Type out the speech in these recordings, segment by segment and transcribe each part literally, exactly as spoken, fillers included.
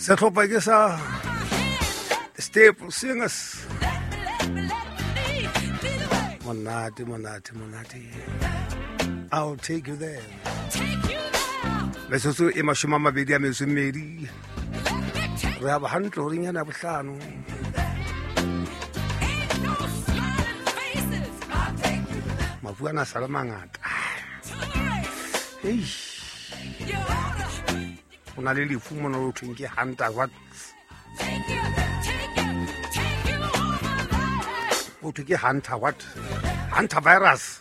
Setlhopha ke sa The Staple Singers. Monate, monate, monate. I'll take you there. Metsotso e mashome a mabedi a metso e mmedi. Re a ba hantle horeng yana ya bohlano. Mafu ana a sa le mangata. Eish. Ho na le lefu mona ho thweng ke Hunter what? Ho thwe ke Hunter what? Hunter virus.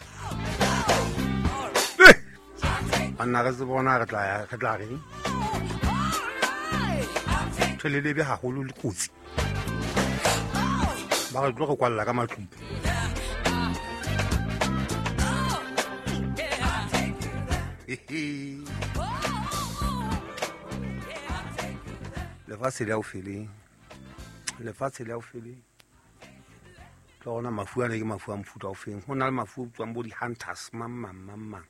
Banna re tsebe hore na re tla ya re tla reng. Ntho e lebe haholo le kotsi. Ba re tlo re kwalla ka matlung. Lefatshe le haufi le lefatshe le haufi le tla ona mafu ana ke mafu a mofuta o feng. Ho na le mafu a bitswang bo di-hunters mang mang mang mang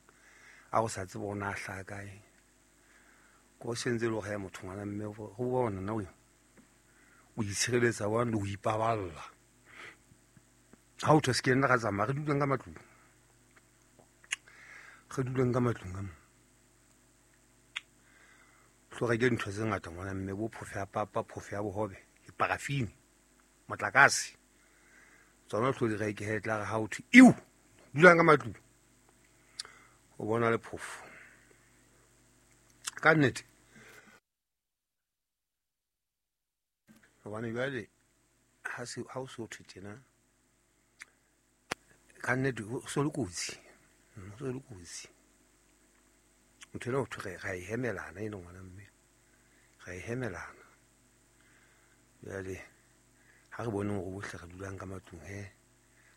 a go sa tsebe hore na a hlaha kae. Ko sentse le hore motho ngwana mme ho bona na o o itshireletsa jwang le ho ipaballa. Ha o thwe se ke nna ra tsamaya re duleng ka matlung. Re duleng ka matlung ka mo. Tlo reke dintho tse ngata ngwana mme bo phofo ya papa, phofo ya bohobe, diparafini, motlakase. Tsona tlo di reke he tla re ha o thwe iu dulang ka matlung. O bona le phofo. Ka nnete. Hobane jwale ha se ha o so thwe tjena ka nnete ho so le kotsi. Ho so le kotsi. Ntho ena ho thwe ra e hemelana eno ngwana mme. Ra e hemelana. Jwale ha re bone hore bohle re dulang ka matlung he.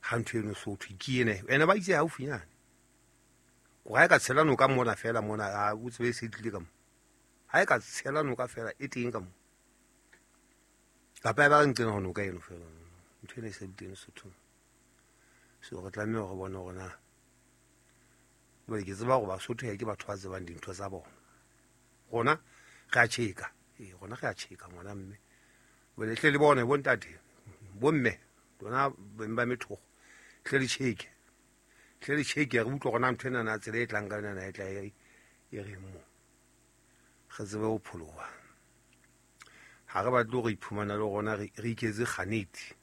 Ha ntho eno so thwe ke ena. Ene ba itse haufinyane. Ko ha e ka tshela noka mona fela mona a o tsebe se tlile ka mo. Ha e ka tshela noka fela e teng ka mo. Kapa e ba re nqena ho noka eno fela. Ntho ena e se le teng Sothong. So re tlameha hore bone hore na jwale ke tseba hore Basotho ke batho ba tsebang dintho tsa bona. Rona re a tjheka. Ee, rona re a tjheka ngwana mme. Jwale hle le bone bo ntate, bo mme, lona beng ba methokgo, hle le tjheke. Hle le tjheke re utlwe hore na ntho ena na tsela e tlang ka yona na e tla e reng mo. Re tsebe ho pholoha. Ha re batle hore iphumana le rona re iketse kganetsi.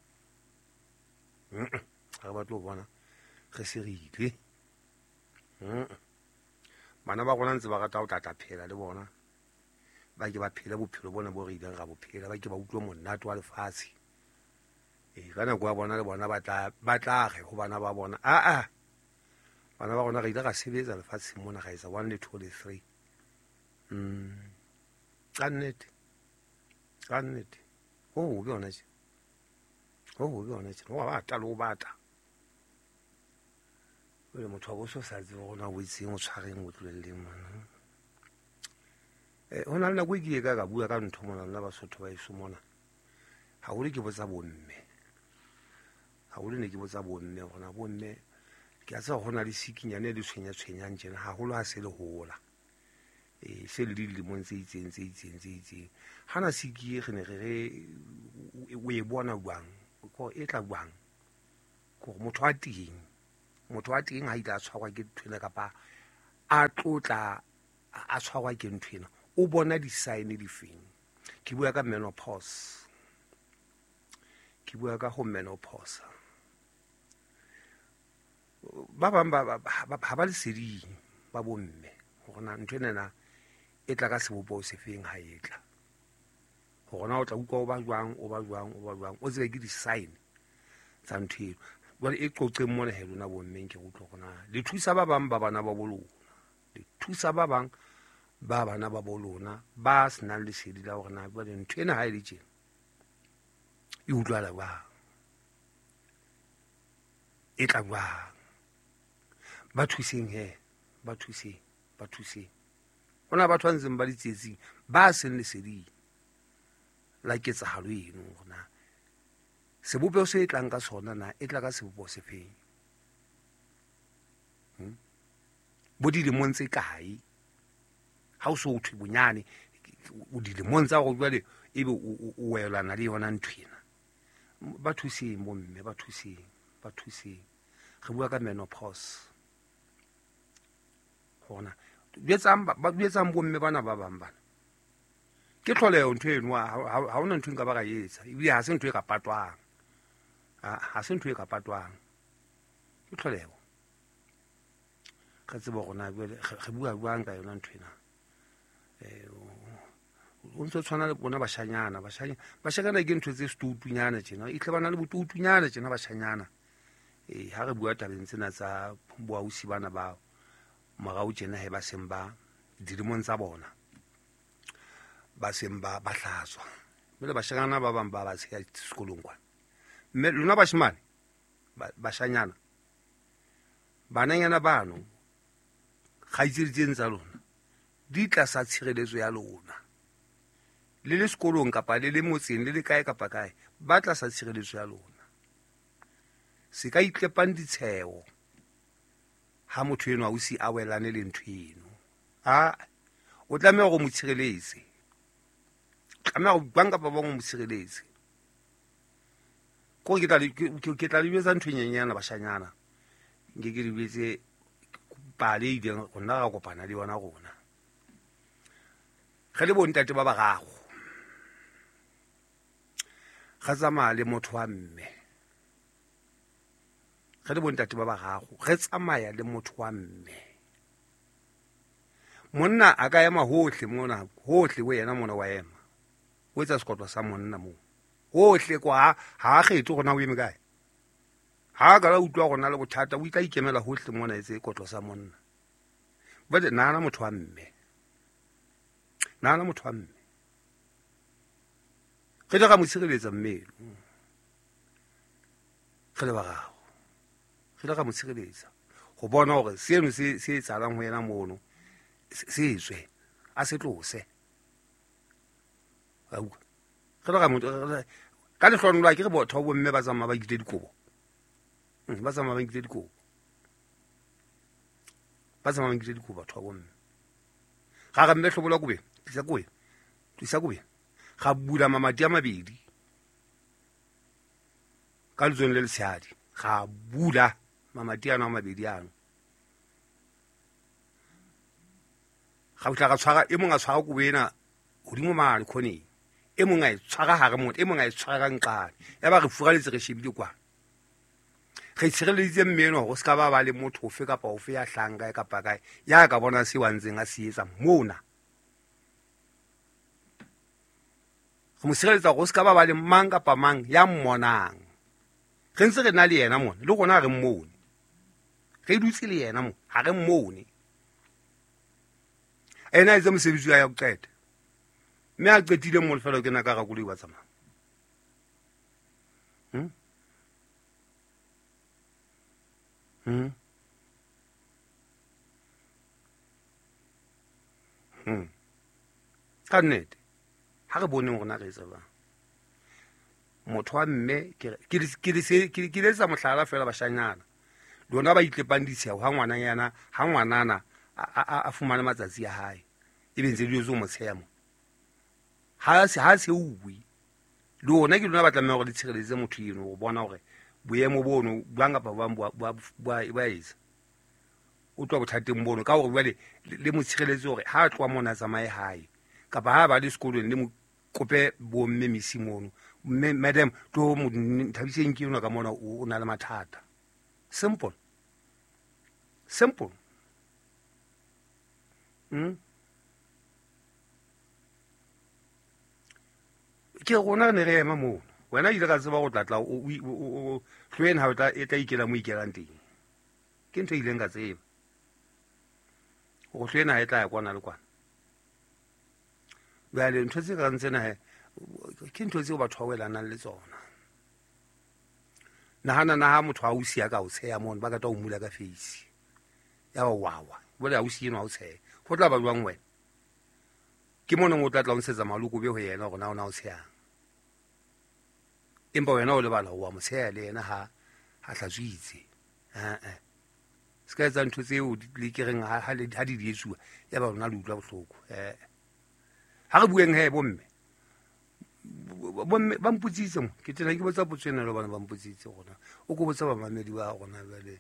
Ha re batle ho bona re se re ile. Bana ba rona ntse ba rata ho tla phela le bona. Ba ke ba phele bophelo bona bo re ileng ra bo phela, ba ke ba utlwe monate wa lefatshe. Ee, ka nako ya bona le bona ba tla ba tla re ho bana ba bona. Ah ah. Bana ba rona re ile ra sebetsa lefatsheng mona ra etsa one le two le three. Mm. Ka nnete. Ka nnete. Ho hobe hona tje. Ho hobe hona tje. Ho bata le ho bata. Jwale motho wa bo so sa tsebe hore na o etseng, o tshwareng, o tlohelleng mona. Eh, ho na le nako e ke ile ka ka bua ka ntho mona lona Basotho ba heso mona. Haholo ke botsa bomme. Haholo ne ke botsa bomme hore na bomme ke a tseba ho na le sikinyane e le tshwenya tshwenyang tjena haholo ha se le hola. Eh, se le dilemong tse itseng tse itseng tse itseng. Hana siki e re ne re re o e bona jwang? Ko e tla jwang? Kore motho wa teng, motho wa teng ha ile a tshwarwa ke ntho ena kapa a tlotla a tshwarwa ke ntho ena, o bona di-sign difeng? Ke bua ka menopause. Ke bua ka ho menopause. Ba bang ba ha ba leseding ba bomme hore na ntho ena na e tla ka sebopeho se feng ha e tla. Hore na o tla utlwa o ba jwang, o ba jwang, o ba jwang, o tsebe ke di-sign tsa ntho eno. Jwale e qoqeng mona he lona bommeng ke utlwa hore na le thusa ba bang ba bana ba bo lona. Le thusa ba bang ba bana ba bo lona ba senang lesedi la hore na jwale ntho ena ha e le tjena e utlwala jwang, e tla jwang. Ba thuseng he, ba thuseng, ba thuseng. Ho na batho ba ntseng ba le tsietsing ba seng leseding la ketsahalo eno hore na sebopeho se tlang ka sona na e tla ka sebopeho se feng. Hmm? Bo dilemong tse kae? Ha o so thwe bonyane o dilemong tsa hore jwale ebe o welana le yona ntho ena. Ba thuseng bomme, ba thuseng, ba thuseng. Re bua ka menopause. Hona jwetsang ba jwetsang bomme bana ba bang bana. Ke tlholeho ntho eno, ha hona ntho nka ba ka etsa. Ebile ha se ntho e ka patwang. Ha se ntho e ka patwang. Ke tlholeho. Re tsebe hore na jwale re bua jwang ka yona ntho ena. Eh o ntso tshwana le bona bashanyana, bashanyana bashanyana ke ntho tse setoutunyana tjena, e tle bana le botoutunyana tjena bashanyana. Eh ha re bua tabeng tsena tsa boausi bana ba morao tjena he ba seng ba dilemong tsa bona, ba seng ba ba hlatswa. Mme bashanyana ba bang ba ba tsheya sekolong kwana. Mme lona bashimane bashanyana bananyana bano kgaitsedi tsena tsa lona di tlasa tshireletso ya lona. Le le sekolong kapa le le motseng le le kae kapa kae, ba tlasa tshireletso ya lona. Se ka itlepang ditsheo ha motho enwa o si a welane le ntho eno. A o tlameha hore mo tshireletse. Tlameha ho bang kapa bang o mo tshireletse. Ko ke tla ke tla le jwetsa ntho e nyenyana bashanyana. Nke ke le jwetse pale e ileng rona ra kopana le yona rona. Re le bontate ba bararo. Re tsamaya le motho wa mme. Re le bontate ba bararo, re tsamaya le motho wa mme. Monna a ka ema hohle mona, hohle ho yena mona wa ema. O etsa sekotlo sa monna moo. Hohle kwa ha a kgethe hore na o eme kae. Ha ka la utlwa hore na le bothata, o itla ikemela hohle mona etse kotlo sa monna. Jwale nahana motho wa mme. Nahana motho wa mme. Re ile ra mo tshireletsa mme. Re le bararo. Re ile ra mo tshireletsa ho bona hore seno se se etsahalang ho yena mono se tswe, a se tlose. Ra utlwa. Re ile ra mo ka lehlohonolo ke re botho bo mme ba tsamaya ba ikile dikobo. Ba tsamaya ba ikile dikobo. Ba tsamaya ba ikile dikobo batho ba bomme. Ga re mme hlobola kobe, tlisa kobe. Tlisa kobe. Ga bula mamati a mabedi. Ka letsong le letshehadi. Ga bula mamati ano a mabedi ano. Ga utla ga tshwara e mong a tshwara kobo ena hodimo mane khoneng. E mong a e tshwara hare motho, e mong a e tshwara ka nqane. Ya ba re furaletse re shebile kwa. Re tshireleditse mme eno hore se ka ba ba le motho ofe kapa ofe ya hlang kae kapa kae ya ka bona se wa ntseng a se etsa mona. Re mo tshireletsa hore se ka ba ba le mang kapa mang ya mmonang. Re ntse re na le yena mona, le rona re mmone. Re dutse le yena mona, ha re mmone. Ena a etse mosebetsi wa ya ho qeta. Mme a qetile mo lefelo ke na ka rakoloi wa tsamaya. Hmm? Hmm. Hmm. Ka nnete ha re boneng rona re etsa jwang. Motho wa mme ke ke ke ke letsa mohlala fela bashanyana. Lona ba itlepang ditsheo ha ngwana yana, ha ngwanana a a fumana matsatsi a hae. Ebe ntse di zo mo tsheya mo. Ha se ha se uwe. Lona ke lona ba tlameha hore le tshireletse motho eno ho bona hore boemo bono bang kapa bang bo ba ba etsa. O tloha bothateng bono ka hore jwale le mo tshireletse hore ha a tloha mona tsamaye hae kapa ha ba le sekolong le mo kope bomme misi mono. Mme madam tlo mo thabiseng ke yona ka mona o na le mathata. Simple. Simple. Mm. Ke rona ne re ema moo. Wena ile ka tseba go tlatla o o hlweng ha o tla e tla ikela mo ikelang teng. Ke ntho e ileng ka tseba. Go hlwena ha e tla ya kwana le kwana. Jwale ntho tse kang tsena he ke ntho tseo batho ba welanang le tsona. Nahana na ha motho a o siya ka o tsheya mono ba ka tla o mula ka face. Ya ba wawa. Jwale ha o siye no ha o tsheya. Ho tla ba jwang wena? Ke mona o tla tla o ntshetsa maloko be ho yena hore na o na o tsheyang. Empa wena o lebala wa mo tsheya le yena ha ha hlatswitse. Eh eh. Se ka etsa ntho tseo le ke reng ha ha di di etsuwa ya ba rona le utlwa bohloko. Eh. Ha re bueng he bomme. Bomme ba mpotsitse mo ke tena ke botsa potso ena le bana ba mpotsitse gona o ko botsa bamamedi ba gona jwale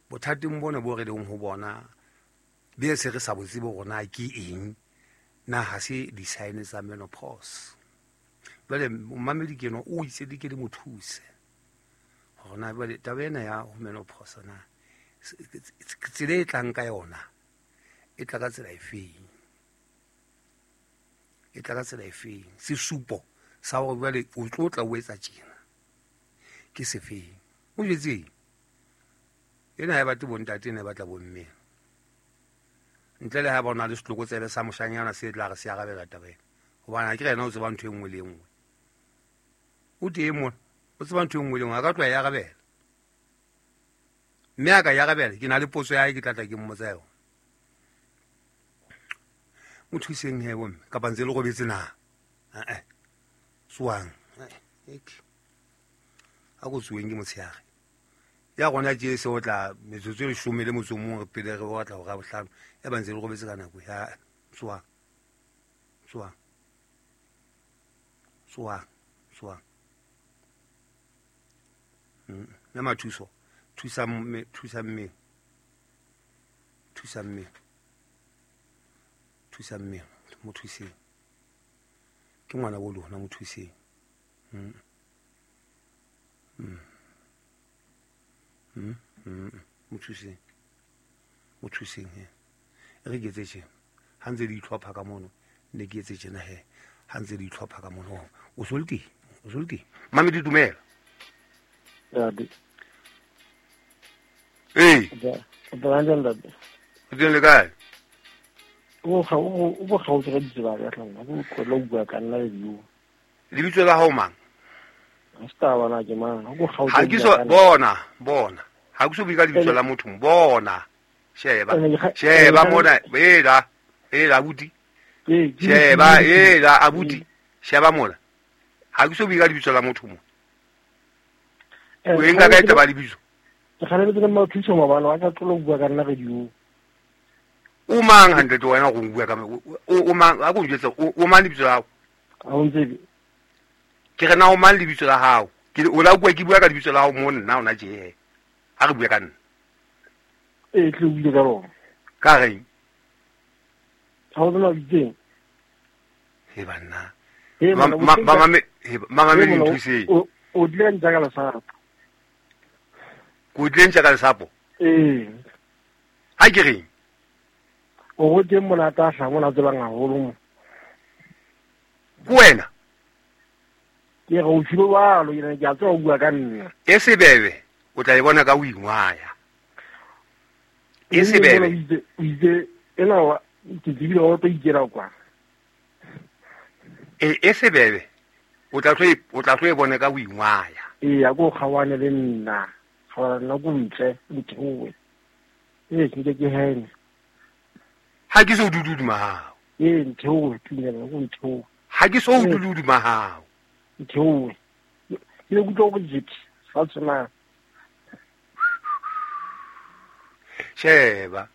bothateng bona bo re leng ho bona be se re sa botse bo rona ke eng na ha se di-sign tsa menopause. Jwale mamedi ke eno o itse di ke di mo thuse gona jwale taba ena ya ho menopause na tsela e tlang ka yona e tla ka tsela efeng, e tla ka tsela efeng, sesupo sa hore jwale o tlo tla o etsa tjena ke sefeng. O jwetseng ena ha e batle bontate, ena e batla bomme, ntle le ha ba ona le setlokotsebe sa moshanyana se tla re se arabela taba ena, hobane ha ke re yena o tseba ntho e nngwe le e nngwe. O teng mona o tseba ntho e nngwe le nngwe, a ka tloha e arabela, mme a ka e arabela ke na le potso ya hae ke tla tla ke mmotsa yona. Mo thuseng he bomme kapa ntse le robetse na? Eh tsoang a ko tsoeng ke motshehare ya rona tje se o tla metsotso e leshome le motso o mong pele re batla hora bohlano ya ba ntse le robetse ka nako ya tsoang tsoang tsoang tsoang. Mme Mathuso thusa mme thusa mme thusa mme thusa mme mo thuseng ke ngwana bo lona mo thuseng. Mm. Mm. Mm. Mm. Mo thuseng mo thuseng he re ke etse tjena ha ntse di itlhopha ka mono ne ke etse tjena he ha ntse di itlhopha ka mono o so le teng o so le teng mame di dumela Ntate. Ee O tla ntate. O teng le kae? O ga o o kgaotse ka ditsela ka tlhang o tlo bua ka nna le dio. Lebitso la hao mang? Sta bana ke mang? O kgaotse. Ha ke so bona bona ha ke so bue ka lebitso la motho bona sheba sheba mona ela ela abuti sheba ela abuti sheba mona ha ke so bue ka lebitso la motho mo. O enka ka taba lebitso. Ke kgalemetse le Mathuso mabana wa ka tlo bua ka nna radio. O mang hantle to wena go bua ka o mang a go njwetsa o mang lebitso la hao? Ha o ntse ke re na o mang lebitso la hao? Ke o la bua ke bua ka lebitso la hao mo nna ona je ha re bua ka nna. E tle o bue ka rona. Ka reng? Ha o tsena bitseng. He banna. Ma ma me mama me nthuse. O o dile ntsa ka lesapo. Ko dile ntsa ka lesapo? Ee. Ha ke reng? O go teng mona ta hla mona tsebang haholo mo. Ke wena? Ke re o tshilo balo ke ke a tswa o bua ka nna. E sebebe o tla e bona ka o ingwaya. E sebebe. O itse ena wa ke tsebile o tlo ikela kwa. E e sebebe o tla tlo o tla tlo e bona ka o ingwaya. Ee a go kgawane le nna. Kgawana nna go ntle ntheowe. Ee ke ke hene. Ha ke so dududuma hao. Ee ntheowe tumela go ntheowe. Ha ke so dududuma hao. Ntheowe. Ke le kutlwa go jitse fa tsena. Sheba.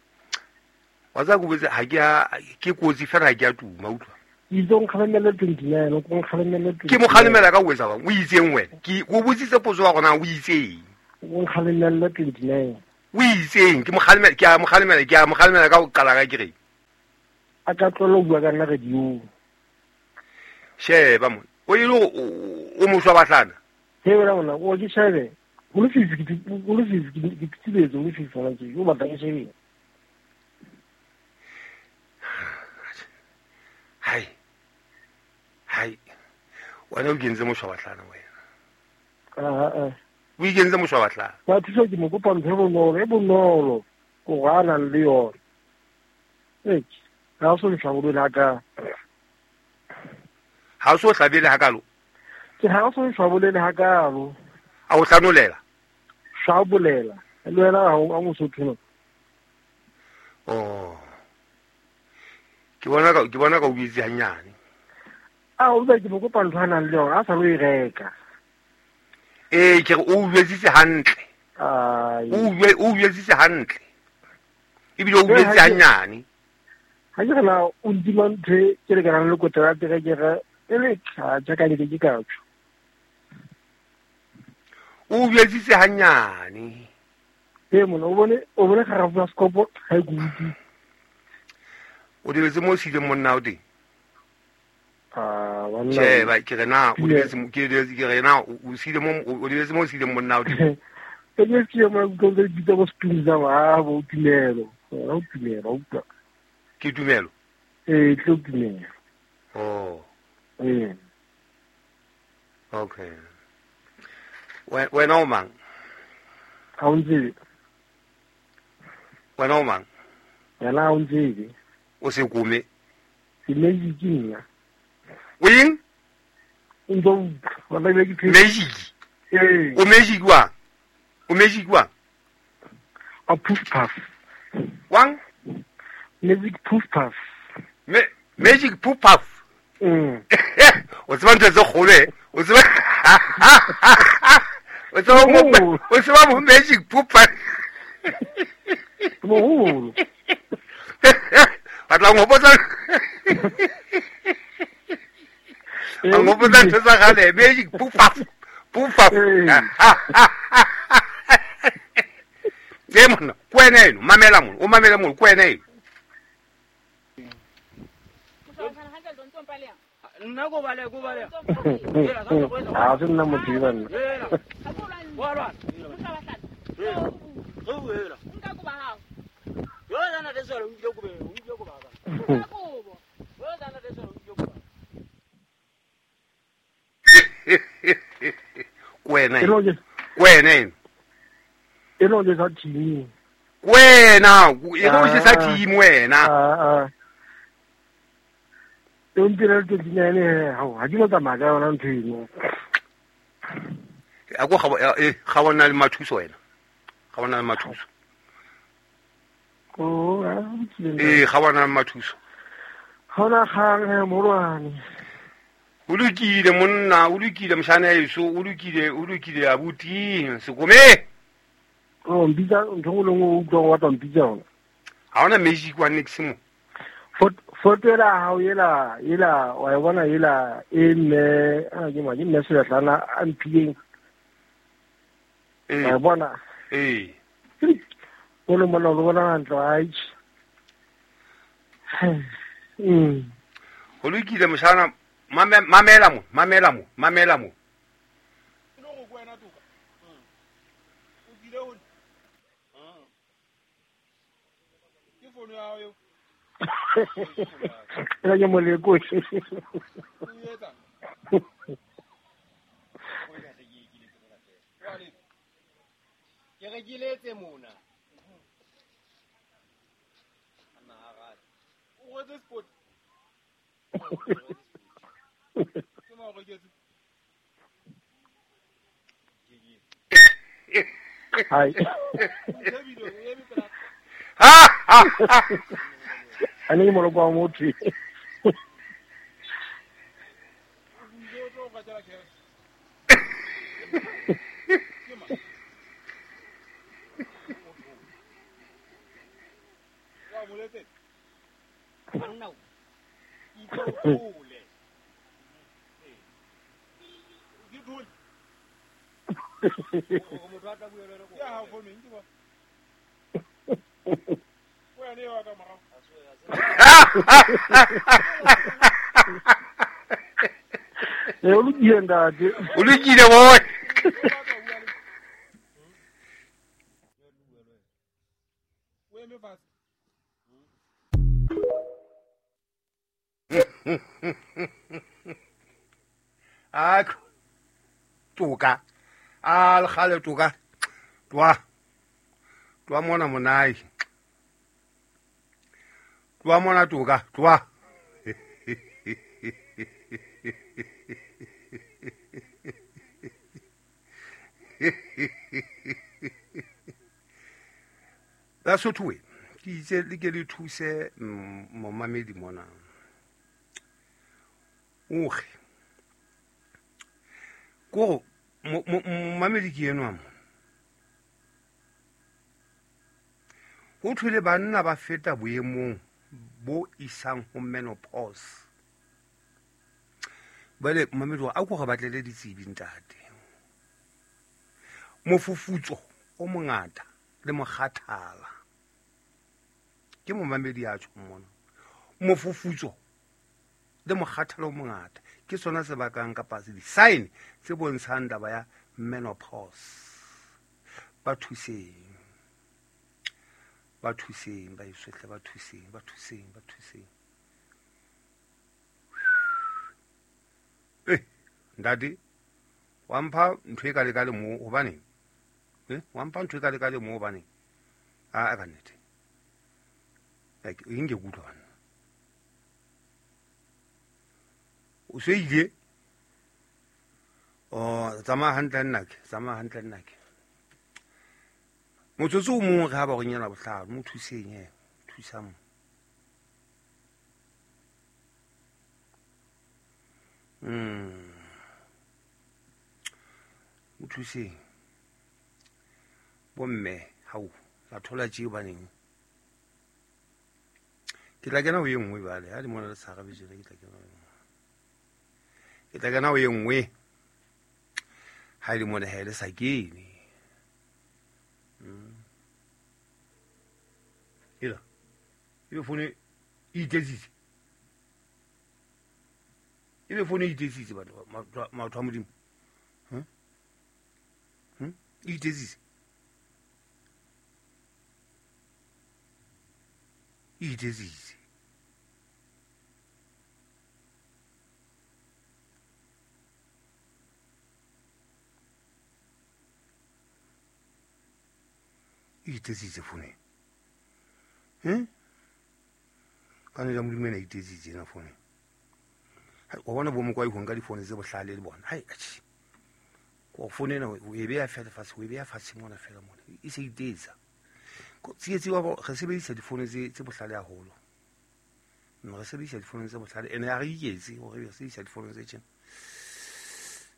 Wa tsa go botse ha ke a ke kotsi fela ha ke a tuma utlwa. Itse o nkgalemela twenty-nine o nkgalemela twenty-nine. Ke mo kgalemela ka o etsa bang o itseng wena? Ke o botsitse potso wa gona o itseng? O nkgalemela twenty-nine. O itseng? Ke mo kgalemela ke a mo kgalemela ke a mo kgalemela ka o qala ka ke reng? A ka tlola bua ka nna radio. Sheba mo. O ile o mo shwa bahlana. He wena mona o ke shebe. Go le fifi go le fifi ke tsibetse go le fifi ona ke o batla ke shebe. Hai. Hai. Wena o kentse mo shwa bahlana wena. Ah ah. O ikentse mo shwa bahlana. Ba thuso ke mo kopa ntho e bonolo e bonolo go gana le yona. Ee. Ha o so hlabolele ha ka. Ha o so hlabele ha kalo. Ke ha o so hlabolele ha kalo. A o hlanolela. Hlabolela. Le wena ha o mosotho no. Oh. Ke bona ka ke bona ka o buitse hanyane. A o ba ke mo kopa ntho a nang le yona a sa lo e reka. Ee ke re o buetsitse hantle. Ai. O bue o buetsitse hantle. Ebile o buetse hanyane. Ha ke re na o ntima ntho e ke lekanang le kotara terekere E le tla jaaka le ke ka tšho. O jwetsitse hanyane. E mona o bone o bone garafu ya sekopo ga e kuti. O dibetse mo sileng monna o teng. Ah banna. Che ba ke re na o dibetse ke dibetse ke re na o sile mo o dibetse mo sileng monna o teng. E ke ke mo go go bitsa bo spinza ba bo tumelo. O tumelo o utlwa. Ke tumelo. E tlo tumelo. Oh. Eh. Okay. Wena o mang? Ha o ntsebe. Wena o mang? Yena ha o ntsebe. O se kome. Ke magic nna. O eng? O ntse o utlwa, ke ke Magic. Ee. O magic wa? O magic wa? A puff puff. Wang? Magic puff puff. Me magic puff puff. Mm. O tseba ntho tse kgolo e? O tseba O tseba mo o tseba mo magic puff puff. Moholo. Batla ngopotsa. Ngopotsa ntho tsa kgale magic puff puff. Puff puff. Ke monna, ke wena eno, mamela mona, o mamela mona, ke wena eno. Nna go bale go bale. Ha se nna motho e banna. Wa lwa. Go wela. Nka go ba hao. Yo jana de solo o go be o go ba ba. Nka go. Yo jana de solo o go ba. Ke wena eno. Ke wena eno. E lo le sa team. Wena, e lo se sa team wena. Ah ah. E o mpira le twenty-nine ha ha ke no tsamaya ka yona ntho eno. A go ga e ga bona le mathuso wena. Ga bona le mathuso. Oh, a Eh ga bona le mathuso. Hona gang he morwane. O lokile monna, o lokile moshana eso, o lokile, o lokile abuti, sekome. Oh, mpitsa ntho go lengwe o utlwa go batla mpitsa yona. Ha ona magic wa next mo. Foto ela hao ela ela wa e bona ela e mme a ke ma ke mme Seletlana a mphileng. Eh. Wa e bona. Eh. O le mona o bona hantle ai. Mm. O lokile moshana mamela mo, mamela mo, mamela mo. Ela ke moleko. Ke re ke letse mona. O retse sport. Ke mo reketse. Hai. Ha ha ha. Ane ke moloko wa motho. E o lokile ntate. O lokile boy. A toka. A le gale toka. Twa. Twa mona monai. Twa mona toka, twa. Basotho we ke itse le ke le thuse momamedi mona. Oge. Ko momamedi ke enwa mo. Ho thwele banna ba feta boemong bo isang ho menopause. Bale mamedi a ko re batlele ditsebi ntate. Mofufutso o mongata le mokgathala. Ke momamedi a tjho mona. Mofufutso le mokgathala o mongata ke sona se bakang kapa se di-sign tse bontshang taba ya menopause. Ba thuseng. Ba thuseng ba isohle ba thuseng ba thuseng ba thuseng. Eh ntate wa mpha ntho e ka le ka le mo hobane eh wa mpha ntho e ka le ka le mo hobane a a ka nnete like inge kutlwa bana o se ile o tsamaya hantle nna ke tsamaya hantle nna ke motsotso o mongwe re ha ba go nyela bohlano mo thuseng he thusa mo mm mo thuseng bomme hao la thola tjeo baneng ke tla kena ho e nngwe bale ha di mona le sa rabetse ke tla kena ho e nngwe ke tla kena ho e nngwe ha di mona ha le sa kene mm ela e fone e itetsitse e be fone e itetsitse batho matho a modimo hm hm e itetsitse e itetsitse e itetsitse fone hm ka ne la modimo ena e itetsitse ena fone wa bona bo mokwa go nka difono tse bohlale le bona hai atjhe go fone ena o e beya fela fatshe o e beya fatshe mona fela mona e se itetsa tsietsi wa re sebedisa difono tse tse bohlale haholo re sebedisa difono tse bohlale ene ha re iketse hore re sebedisa difono tse tjena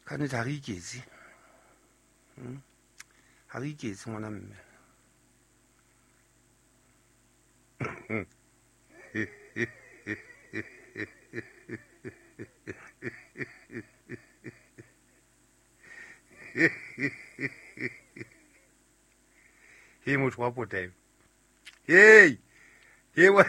ka nnete ha re iketse ha re iketse ngwana mme he motho wa pota eo hey he wa